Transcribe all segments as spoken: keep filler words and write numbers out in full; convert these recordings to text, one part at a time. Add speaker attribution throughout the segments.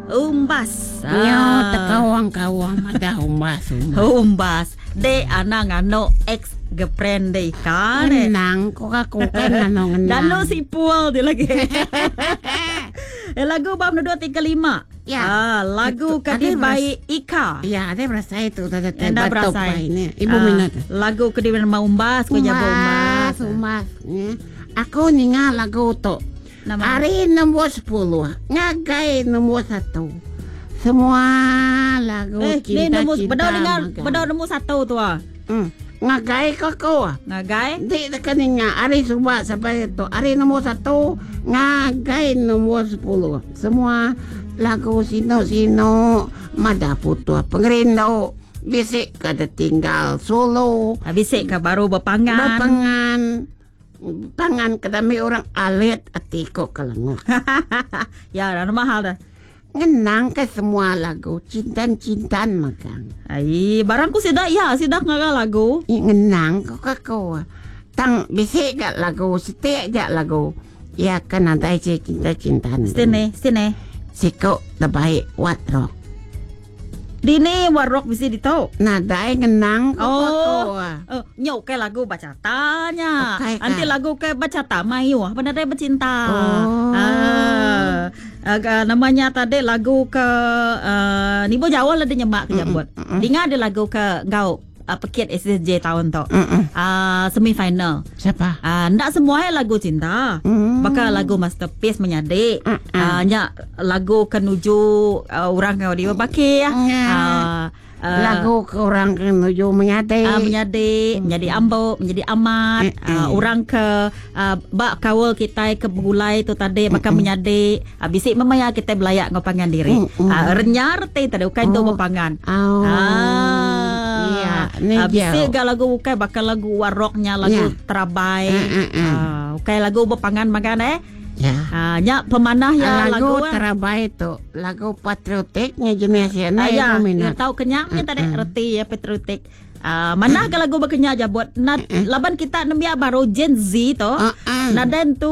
Speaker 1: Umbas.
Speaker 2: Ya, tekawang-kawang madah umbas umbas.
Speaker 1: Umbas. Dek anang nganu ex girlfriend dek Ika dek.
Speaker 2: Ngenang ko aku kan nganu ngenang.
Speaker 1: Danu sipul dia lagi. Eh, lagu bab dua tiga lima.
Speaker 2: Ya.
Speaker 1: Ah, lagu
Speaker 2: Itu,
Speaker 1: kadi
Speaker 2: ada
Speaker 1: baik Ika.
Speaker 2: Ya, ada berasai tu tadi
Speaker 1: Enda berasai.
Speaker 2: Ini. Ibu
Speaker 1: Ah,
Speaker 2: minat.
Speaker 1: Lagu kadi nama umbas ko jago umbas.
Speaker 2: Umbas, umbas. Ya. Aku ninga lagu tu.
Speaker 1: Nama
Speaker 2: Hari nombor sepuluh, ngagai nombor satu. Semua lagu
Speaker 1: Eh, ni
Speaker 2: cinta
Speaker 1: nombor
Speaker 2: cinta.
Speaker 1: bedau dengar
Speaker 2: magang.
Speaker 1: bedau nombor satu tu ah.
Speaker 2: Hmm. Ngagai ko ko.
Speaker 1: Ngagai.
Speaker 2: Di dekat ninga hari subak sampai itu. Hari nombor satu ngagai nombor sepuluh. Semua lagu sino-sino mada putua pengerindu. Bisik kada tinggal solo.
Speaker 1: Ah, bisik ke baru berpangan.
Speaker 2: Berpangan. Pangan kedami orang alit atiko kelengok.
Speaker 1: Ya, dah mahal dah.
Speaker 2: Ngenang ke semua lagu cintan-cintan magang.
Speaker 1: Ai, barangku sidak ya, sidak ngaga lagu.
Speaker 2: I ngenang ko kako. Tang bisik gak lagu, setik gak lagu. Ya kan ada si cinta-cintan.
Speaker 1: Sini, sini.
Speaker 2: Siko terbaik wat rock.
Speaker 1: Dini warok bisi ditau.
Speaker 2: Nadai ngenang ko
Speaker 1: Oh.
Speaker 2: kako.
Speaker 1: Oh, nyok ke lagu bacatanya.
Speaker 2: Okai, kah?
Speaker 1: Nanti lagu ke bacata mayu, apa nadai bercinta.
Speaker 2: Oh.
Speaker 1: Ah, ah, namanya tadi lagu ke uh, ni bo jauh lah dia nyemak ke jambut. Dengar ada lagu ke ngau uh, pekit S S J tahun tu.
Speaker 2: Mm-mm.
Speaker 1: Ah, semi final.
Speaker 2: Siapa?
Speaker 1: Ah, ndak semua lagu cinta.
Speaker 2: Mm.
Speaker 1: Bakal lagu masterpiece menyadik.
Speaker 2: Mm-mm.
Speaker 1: Ah, nyak lagu kenuju uh, orang kau di baki ya.
Speaker 2: Mm.
Speaker 1: Ah, ah,
Speaker 2: Lagu ke orang kenuju menyadik.
Speaker 1: Ah, menyadik, menjadi ambok, menjadi amat.
Speaker 2: Mm-mm.
Speaker 1: Ah, orang ke ah, bak kawal kita ke begulai tu tadi bakal menyadik. Ah, bisik memaya kita belayak ngau pangan diri.
Speaker 2: Mm-mm.
Speaker 1: Ah, renyar te tadi bukan tu
Speaker 2: Oh.
Speaker 1: berpangan.
Speaker 2: Oh.
Speaker 1: Ah.
Speaker 2: Ya, ni
Speaker 1: Ah, bisik
Speaker 2: jauh.
Speaker 1: gak lagu bukan bakal lagu waroknya lagu
Speaker 2: Ya.
Speaker 1: terabai.
Speaker 2: Mm-mm.
Speaker 1: Ah, bukan lagu berpangan makan eh.
Speaker 2: Ya.
Speaker 1: Ah, nyak pemanah ya
Speaker 2: lagu
Speaker 1: lagu, eh.
Speaker 2: terabai tu, lagu patriotiknya jenis ya,
Speaker 1: Ah,
Speaker 2: nah
Speaker 1: ya,
Speaker 2: itu
Speaker 1: ya
Speaker 2: minat.
Speaker 1: tahu kenyangnya tadi reti ya patriotik. Ah, mana ke lagu berkenyang aja buat na, laban kita nembiak baru Gen Z to.
Speaker 2: Ah, ah.
Speaker 1: Naden tu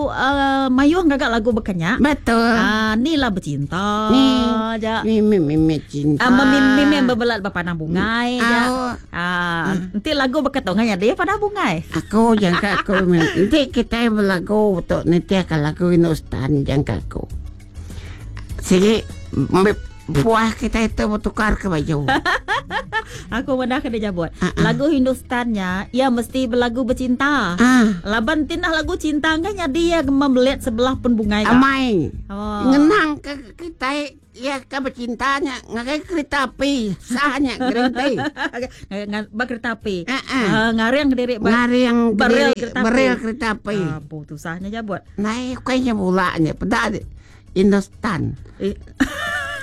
Speaker 1: uh, mayuh gagak lagu berkenyak.
Speaker 2: Betul.
Speaker 1: Ah, ni lah bercinta
Speaker 2: Ni.
Speaker 1: ja.
Speaker 2: Mi mi mi mi cinta.
Speaker 1: Ah, memi memi berbelat berpanang bungai ja.
Speaker 2: Ah,
Speaker 1: Ah, nanti lagu berketongan ya dia pada bungai.
Speaker 2: Aku jangka aku nanti kita berlagu untuk nanti akan lagu Hindustan jangka aku. Sige, puah kita itu bertukar ke baju.
Speaker 1: Aku benar kena jabut.
Speaker 2: Ah, ah.
Speaker 1: Lagu Hindustannya ia mesti berlagu bercinta.
Speaker 2: Ah,
Speaker 1: Laban tinah lagu cinta kan jadi ya membelit sebelah pun bungai kak.
Speaker 2: amai.
Speaker 1: Oh.
Speaker 2: Ngenang ke kita ya ke bercintanya ngakai kereta api sahnya kereta.
Speaker 1: Ba kereta api.
Speaker 2: Ah, ah.
Speaker 1: Ah, ngariang diri ba.
Speaker 2: Ngari yang
Speaker 1: Beril
Speaker 2: berdiri-
Speaker 1: kereta api.
Speaker 2: beril kereta api.
Speaker 1: Ah, putusahnya jabut.
Speaker 2: Naik kayaknya bulanya pada Hindustan.
Speaker 1: Eh,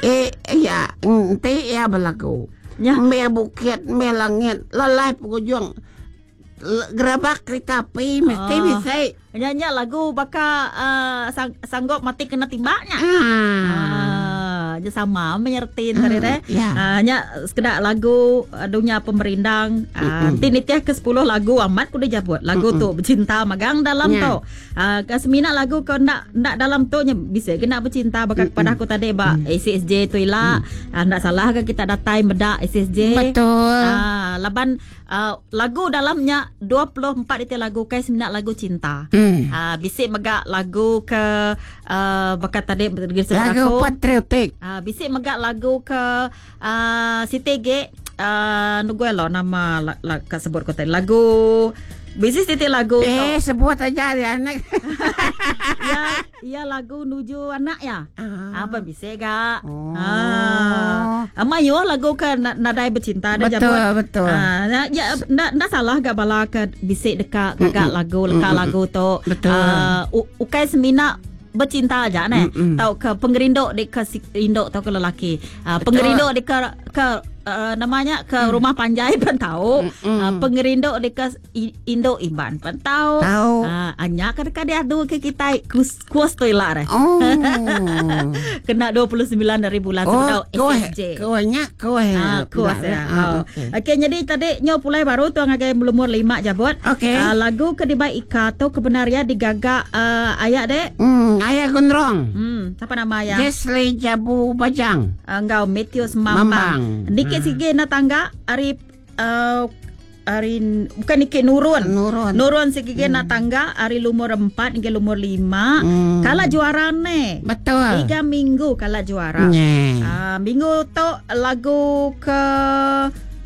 Speaker 2: Eh ya, nanti ya berlaku.
Speaker 1: Ya.
Speaker 2: Me bukit, me langit, lalai pengunjung. L- Gerabak kereta api mesti
Speaker 1: Ah.
Speaker 2: bisa.
Speaker 1: Nyanyi lagu baka uh, sang, sanggup mati kena timbaknya.
Speaker 2: Ah.
Speaker 1: Ah, dia sama menyertin tadi
Speaker 2: Hmm,
Speaker 1: teh.
Speaker 2: ya.
Speaker 1: Ah, nya sekedak lagu ah, dunia pemerindang. Ah, nanti nitiah ke sepuluh lagu amat ku dia jabut. Lagu tu bercinta magang dalam
Speaker 2: Ya.
Speaker 1: tu. Ah, ke semina lagu kau nak nak dalam tu nya bisa kena bercinta bakal kepada aku tadi ba A C S J tu ila. Ah, ndak salah ke kita datai medak A C S J.
Speaker 2: Betul.
Speaker 1: Ah, laban ah, lagu dalamnya dua puluh empat itu lagu kai semina lagu cinta.
Speaker 2: Hmm.
Speaker 1: Ah, bisik megak lagu ke uh, bakat tadi berdiri
Speaker 2: Lagu
Speaker 1: aku.
Speaker 2: patriotik.
Speaker 1: Ah, bisik megak lagu ke uh, Siti G uh, nunggu lo nama la, la, kat sebut kau tadi lagu bisik Siti lagu
Speaker 2: Eh, sebut aja dia anak.
Speaker 1: ya ya lagu nuju anak ya.
Speaker 2: Ah.
Speaker 1: Apa bisik gak?
Speaker 2: Oh.
Speaker 1: Ah. Amayo lagu ke na- nadai bercinta dah
Speaker 2: Betul,
Speaker 1: jabut.
Speaker 2: betul.
Speaker 1: Ah, na, ya ndak ndak salah gak bala ke bisik dekat gagak lagu leka lagu tu.
Speaker 2: Betul.
Speaker 1: Ah, u- ukai semina bercinta aja ne.
Speaker 2: Mm-mm.
Speaker 1: Tau ke pengerindu di ke si, induk tau ke lelaki. Ah,
Speaker 2: Betul.
Speaker 1: pengerindu di ke ke uh, namanya ke hmm. rumah panjai pun tahu. Hmm. Uh, pengerindu dekat Indo Iban pun tahu.
Speaker 2: Tahu.
Speaker 1: Uh, anya kan dia adu ke kita kus kus tu lah.
Speaker 2: Oh.
Speaker 1: Kena dua puluh sembilan dari bulan
Speaker 2: oh, S S J. Kuahnya kuah.
Speaker 1: Ah, kuah ya. Oh. Okey, okay, jadi tadi nyo pulai baru tuang ngagai lumur lima jabut.
Speaker 2: Okey.
Speaker 1: Uh, lagu Kedibai Ika tu kebenaran digagak uh, ayak dek.
Speaker 2: Hmm, ayak gondrong.
Speaker 1: Hmm, siapa nama ayah?
Speaker 2: Jessley Jabu Bajang.
Speaker 1: Enggau Matthews Mambang. Mambang. Nikit hmm. sige na tangga hari uh, hari bukan nikit nurun.
Speaker 2: Nurun.
Speaker 1: Nurun sige hmm. na tangga hari lumur empat hingga lumur lima.
Speaker 2: Hmm.
Speaker 1: Kala juara ne.
Speaker 2: Betul.
Speaker 1: Tiga minggu kala juara.
Speaker 2: Yeah.
Speaker 1: Uh, minggu tu lagu ke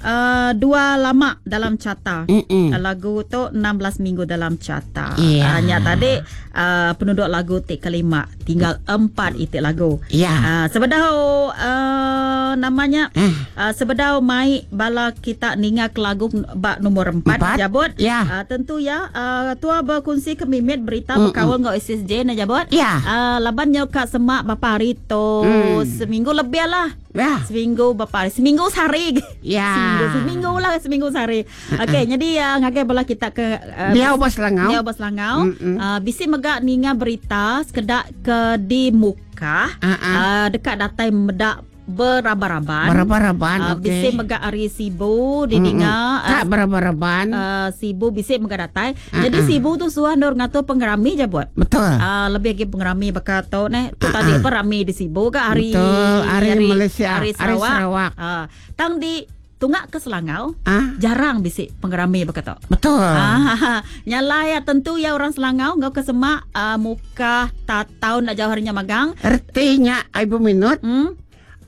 Speaker 1: Uh, dua lama dalam carta.
Speaker 2: Mm-mm.
Speaker 1: Lagu tu enam belas minggu dalam carta.
Speaker 2: Yeah.
Speaker 1: Uh, nya tadi uh, penduduk lagu tik kelima tinggal empat itik lagu.
Speaker 2: Yeah.
Speaker 1: Uh, sebedau uh, namanya
Speaker 2: mm.
Speaker 1: uh, sebedau mai bala kita ninga ke lagu bak nombor empat,
Speaker 2: empat?
Speaker 1: Jabut.
Speaker 2: Yeah.
Speaker 1: Uh, tentu ya uh, tua berkongsi kemimit berita berkawal ngau S S J na jabut.
Speaker 2: Yeah.
Speaker 1: Uh, laban nyo kat semak bapa hari tu
Speaker 2: mm.
Speaker 1: seminggu lebih lah.
Speaker 2: Ya.
Speaker 1: Seminggu bapa hari, seminggu sehari.
Speaker 2: Ya.
Speaker 1: Seminggu, seminggu lah seminggu sehari. Okey, jadi uh, ngagai bala kita ke uh,
Speaker 2: Biau bos Selangau.
Speaker 1: Biau bos Selangau. Uh, bisi megak ninga berita sekedak ke di muka
Speaker 2: uh-uh.
Speaker 1: uh, dekat datai medak beraba-raban.
Speaker 2: Beraba-raban,
Speaker 1: uh,
Speaker 2: okey.
Speaker 1: Bisi megak hari Sibu di ninga.
Speaker 2: Tak uh, beraba-raban.
Speaker 1: Uh, Sibu bisi megak datai.
Speaker 2: Uh-uh.
Speaker 1: Jadi Sibu tu suah nur ngatur pengerami je buat.
Speaker 2: Betul.
Speaker 1: Uh, lebih lagi pengerami bakal tau neh. Tu
Speaker 2: uh-uh.
Speaker 1: tadi apa rami di Sibu ke hari
Speaker 2: Betul, hari, hari Malaysia,
Speaker 1: hari Sarawak.
Speaker 2: Hari Sarawak.
Speaker 1: Uh, tang di tungak ke Selangau,
Speaker 2: ah?
Speaker 1: jarang bisik pengerami berkata.
Speaker 2: Betul.
Speaker 1: Ah, nyala ya tentu ya orang Selangau ngau ke semak uh, muka tak tahu nak jauh harinya magang.
Speaker 2: Artinya ibu minut,
Speaker 1: hmm?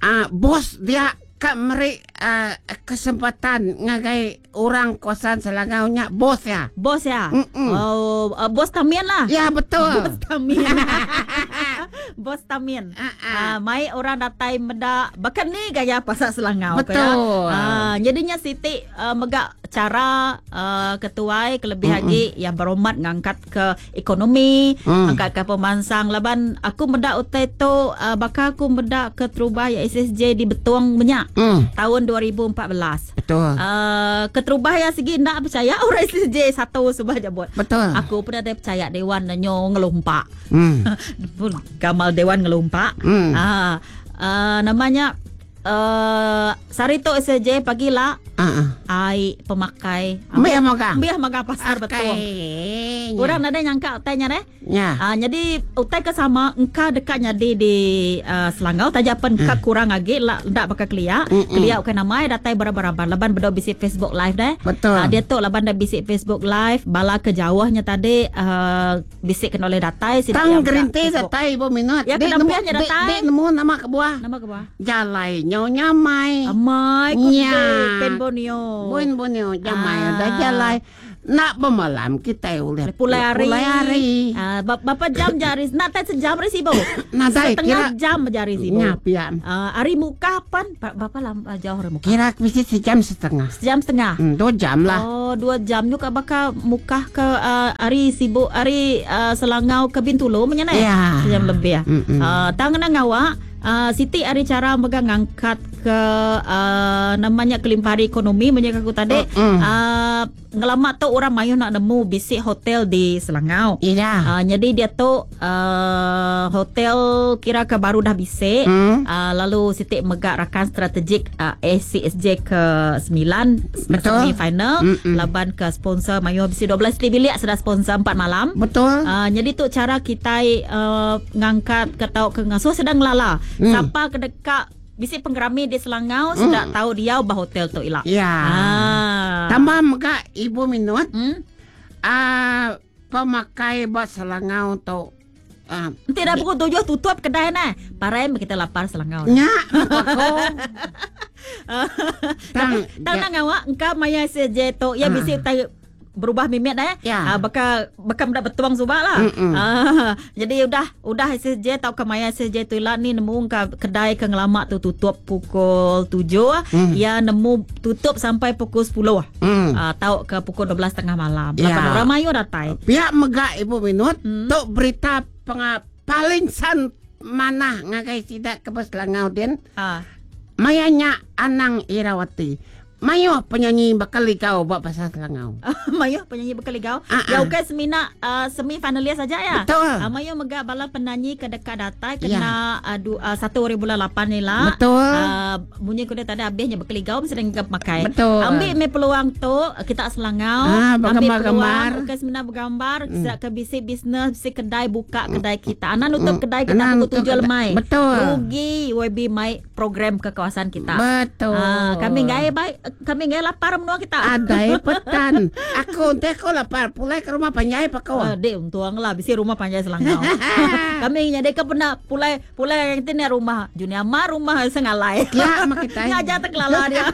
Speaker 2: ah, bos dia kak meri uh, kesempatan ngagai orang kawasan Selangau nya bos ya.
Speaker 1: Bos ya.
Speaker 2: Mm-mm.
Speaker 1: Oh, uh, bos Tamin lah.
Speaker 2: Ya betul.
Speaker 1: Bos Tamin. Bos Tamin.
Speaker 2: Uh-uh.
Speaker 1: Uh, mai orang datai medak bahkan ni gaya pasar Selangau.
Speaker 2: Betul.
Speaker 1: Ya. Uh, jadinya Siti uh, megak cara uh, ketuai kelebih
Speaker 2: Mm-mm.
Speaker 1: lagi yang beromat ngangkat ke ekonomi,
Speaker 2: Mm.
Speaker 1: angkat ke pemansang laban aku medak utai tu uh, bakal aku medak ke terubah ya S S J di Betuang Menyak
Speaker 2: mm.
Speaker 1: tahun dua ribu empat belas.
Speaker 2: Betul.
Speaker 1: Uh, keterubah ya segi nak percaya orang S S J satu sebab je buat.
Speaker 2: Betul.
Speaker 1: Aku pun ada percaya dewan nyo ngelumpak.
Speaker 2: Mm.
Speaker 1: Gamal dewan ngelumpak.
Speaker 2: Mm.
Speaker 1: Ah, uh, namanya uh, sari tu S S J pagi lah.
Speaker 2: Uh-uh.
Speaker 1: Ai pemakai.
Speaker 2: Biar magang.
Speaker 1: Biar magang pasar
Speaker 2: okay.
Speaker 1: betul. Orang ada nyangka utainya deh.
Speaker 2: Ya.
Speaker 1: Uh, jadi utai ke sama engkau dekatnya di di uh, Selangau taja pen uh. kurang lagi lah ndak bakal kelia. Kelia bukan namai datai beraba-raba laban bedo bisi Facebook live deh.
Speaker 2: Betul.
Speaker 1: Uh, dia tu laban dah bisi Facebook live bala ke jauhnya tadi uh, bisi kena oleh datai
Speaker 2: si tang gerinti datai ibu minut.
Speaker 1: Ya kena piahnya datai.
Speaker 2: Dek nemu nama ke buah.
Speaker 1: Nama ke buah.
Speaker 2: Jalai nyo nyamai.
Speaker 1: Amai ku pen Borneo.
Speaker 2: Bun Borneo jamai ah. Dah jalai nak bermalam kita boleh
Speaker 1: pulai hari.
Speaker 2: Pulai hari.
Speaker 1: Ah, berapa jam jari? Nak tak sejam hari sibu.
Speaker 2: Nak tak
Speaker 1: setengah jam jari sibu.
Speaker 2: Nyapian.
Speaker 1: Ah, hari muka pan berapa lama jauh hari muka?
Speaker 2: Kira mesti sejam setengah.
Speaker 1: Sejam setengah.
Speaker 2: Hmm, dua jam lah.
Speaker 1: Oh, dua jam juga bakal muka ke uh, hari sibu hari uh, Selangau ke Bintulu menyana.
Speaker 2: Ya.
Speaker 1: Sejam lebih ya.
Speaker 2: Mm-mm.
Speaker 1: Uh, tangan ngawak. Uh, Siti hari cara megang ngangkat ke uh, namanya kelimpahan ekonomi menjaga aku tadi
Speaker 2: mm.
Speaker 1: uh, ngelamak tu orang mayu nak nemu bisik hotel di Selangau.
Speaker 2: Iya.
Speaker 1: Uh, jadi dia tu uh, hotel kira ke baru dah bisik.
Speaker 2: Mm.
Speaker 1: Uh, lalu Siti megak rakan strategik uh, A C S J ke sembilan
Speaker 2: Betul.
Speaker 1: semi final
Speaker 2: Mm-mm.
Speaker 1: laban ke sponsor mayu bisik dua belas bilik sudah sponsor empat malam.
Speaker 2: Betul.
Speaker 1: Uh, jadi tu cara kita uh, ngangkat ke tau ke ngasuh sedang lala.
Speaker 2: Mm.
Speaker 1: Siapa ke dekat bisik penggerami di Selangau
Speaker 2: mm.
Speaker 1: sudah tahu dia bah hotel tu ilak.
Speaker 2: Ya.
Speaker 1: Ah.
Speaker 2: Tambah mega ibu minut.
Speaker 1: Hmm?
Speaker 2: Ah, pemakai bah Selangau tu. Ah.
Speaker 1: Nanti dah pukul tujuh tutup kedai nah. Parai kita lapar Selangau.
Speaker 2: Nya, aku.
Speaker 1: Tang tang nang awak engkau maya S J tu ya bisik tai berubah mimit dah
Speaker 2: ya.
Speaker 1: Ah, bakal bakal dak betuang subak lah. Ah, jadi udah udah S S J tau ke maya S S J tu lah ni nemu ke kedai ke ngelamak tu tutup pukul tujuh.
Speaker 2: Mm.
Speaker 1: Ya nemu tutup sampai pukul sepuluh.
Speaker 2: Mm.
Speaker 1: Ah, tau ke pukul dua belas tiga puluh malam.
Speaker 2: Ya.
Speaker 1: Lapan orang mayu datai.
Speaker 2: Pihak megak ibu minut
Speaker 1: Mm.
Speaker 2: tok berita penga paling san manah ngagai sidak ke Selangau den.
Speaker 1: Ah.
Speaker 2: Mayanya Anang Irawati. Mayo penyanyi bakal ligau buat pasal Selangau.
Speaker 1: Mayo penyanyi bakal ligau.
Speaker 2: Ah,
Speaker 1: Ya
Speaker 2: ah.
Speaker 1: okey semina uh, semi finalis saja ya.
Speaker 2: Betul.
Speaker 1: Uh, mayo mega bala penyanyi ke dekat datai kena
Speaker 2: Ya.
Speaker 1: uh, du, uh, satu hari bulan lapan ni lah.
Speaker 2: Betul.
Speaker 1: Uh, bunyi kuda tadi habisnya bakal ligau mesti dengan makai.
Speaker 2: Betul.
Speaker 1: Ambil me peluang tu kita Selangau.
Speaker 2: Ah,
Speaker 1: ambil
Speaker 2: bergambar-gambar.
Speaker 1: peluang okey semina bergambar mm. ke bisi bisnes, bisi kedai buka kedai kita. Anak nutup kedai kita
Speaker 2: Anak
Speaker 1: pukul
Speaker 2: nutup
Speaker 1: tujuh
Speaker 2: kedai.
Speaker 1: lemai.
Speaker 2: Betul.
Speaker 1: Rugi Y B mai program ke kawasan kita.
Speaker 2: Betul.
Speaker 1: Ah, kami ngai baik, kami ngai lapar menua kita.
Speaker 2: Ada petan. Aku nanti aku lapar pulai ke rumah panjai pak kau.
Speaker 1: Uh, dek untung lah bisi rumah panjai Selangau. Kami nyadai ke pernah pulai pulai yang ni rumah Junior Ma rumah Sengalai.
Speaker 2: Ya, mak kita.
Speaker 1: Ngajar terkelala dia.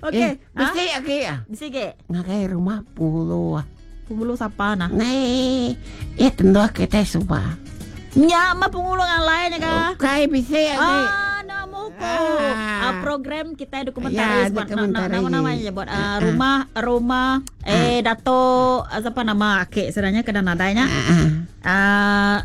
Speaker 1: Okey.
Speaker 2: Eh,
Speaker 1: Ha?
Speaker 2: bisi okey ah.
Speaker 1: Bisi ke?
Speaker 2: Ngakai rumah puluh.
Speaker 1: Pengulu siapa nah?
Speaker 2: Nei, eh tentu kita subah.
Speaker 1: Nya mah pengulu ngalai nya ka.
Speaker 2: Okey, bisi okey.
Speaker 1: Ah, nama ko.
Speaker 2: Ah.
Speaker 1: Ah, program kita dokumentaris
Speaker 2: Ya,
Speaker 1: buat
Speaker 2: dokumentaris.
Speaker 1: nama namanya buat ah,
Speaker 2: Ah, ah.
Speaker 1: rumah rumah eh Dato ah, siapa nama akik sebenarnya kena nadainya.
Speaker 2: Ah, ah.
Speaker 1: Ah,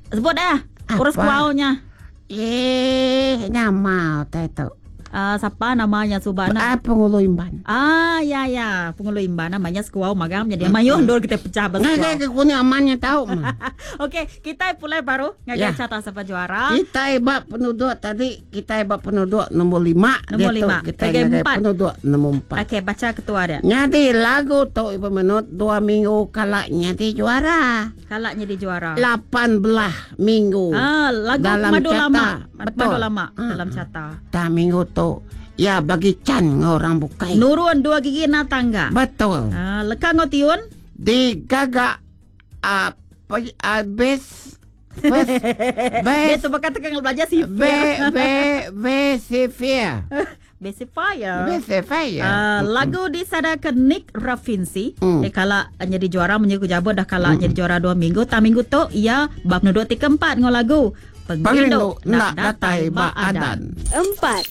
Speaker 1: sebut dah. Urus
Speaker 2: Apa?
Speaker 1: kuaunya.
Speaker 2: Eh, nama tu.
Speaker 1: Ah, siapa namanya Subana?
Speaker 2: Ah, pengulu imban.
Speaker 1: Ah, ya ya, pengulu imban namanya sekuau magang jadi mayuh dor kita pecah
Speaker 2: Ngakai
Speaker 1: bersekuau.
Speaker 2: ke kuning amannya tahu mah.
Speaker 1: Okey, kita pulai baru ngajar
Speaker 2: Ya.
Speaker 1: carta siapa juara.
Speaker 2: Kita hebat penduduk tadi, kita hebat penduduk nombor lima.
Speaker 1: Nombor
Speaker 2: Dia tu
Speaker 1: lima.
Speaker 2: Kita
Speaker 1: Tiga
Speaker 2: ngagai
Speaker 1: empat.
Speaker 2: penduduk nombor empat.
Speaker 1: Okey, baca ketua dia.
Speaker 2: Nyadi lagu tu ibu menut dua minggu kalak nyadi juara.
Speaker 1: Kalaknya di juara.
Speaker 2: Lapan belah minggu.
Speaker 1: Ah, lagu
Speaker 2: Dalam
Speaker 1: Madu
Speaker 2: carta.
Speaker 1: Lama.
Speaker 2: Betul.
Speaker 1: Madu Lama
Speaker 2: Ah.
Speaker 1: dalam carta.
Speaker 2: Tak minggu tu ya bagi can dengan orang bukai.
Speaker 1: Nurun dua gigi na tangga.
Speaker 2: Betul.
Speaker 1: Ah, leka ngotiun.
Speaker 2: Digagak apa habis first
Speaker 1: Dia
Speaker 2: best
Speaker 1: tu bakal tekan belajar sifir.
Speaker 2: B B B Sifia.
Speaker 1: Basic fire.
Speaker 2: B Sifia.
Speaker 1: Uh, lagu disadakan Nick Rafinsi.
Speaker 2: Mm.
Speaker 1: Eh kala jadi juara menyeku jabot dah kala jadi juara dua minggu. Tak minggu tu ia bab nuduk tiga empat ngau lagu.
Speaker 2: Pengrindu nak datai ba adan.
Speaker 3: Empat.